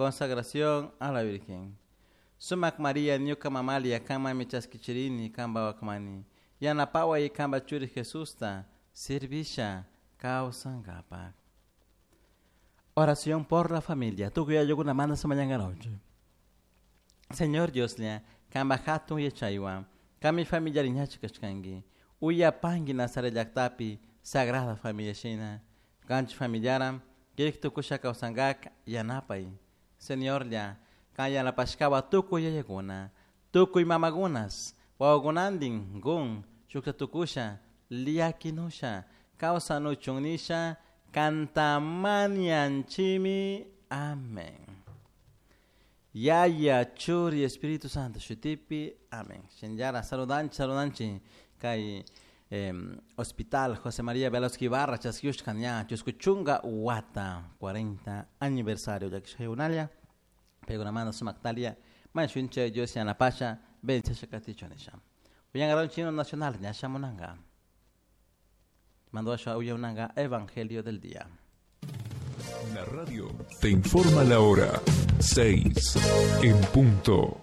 Consagración a la Virgen. Sumak María ñuka mamalia kanmanmi chaskichirini kanpa wakmani. Yanapaway kanpa churi Jesusta servisha kawsankapak. Oración por la familia. Tukuy ayllukunamanta mañankaronchik. Señor Dioslla, kanpa hatun yachaywan, kanmi familiariñachi kashkanki. Uyapanki Nazaret llaktapi Sagrada Familia shina. Kanchik familiaran kirik tukusha kawsankak yanapay. Señorlla, kan yanapashkawa tukuy yayakuna, tukuy mamakunas, wawakunantin gun shukta tukusha, llakinusha, kawsanuchun nisha, kantamanianchimi. Amén. Yaya, Churi, Espíritu Santo, shutipi. Amén. Shinllata, saludanchi, saludanchi. Kay Hospital José María Velasco Ibarra, chaskiyushka ña, chusku chunka wata, 40 aniversario, llakishkaykunalla, paykunamanta sumaktalia, mañashunchik Dios yanapasha, bendiciasha katichun nisha. Uyangaron himno nacional, ña shamunanka. Mando uyananka Evangelio del día. La radio te informa la hora 6 en punto.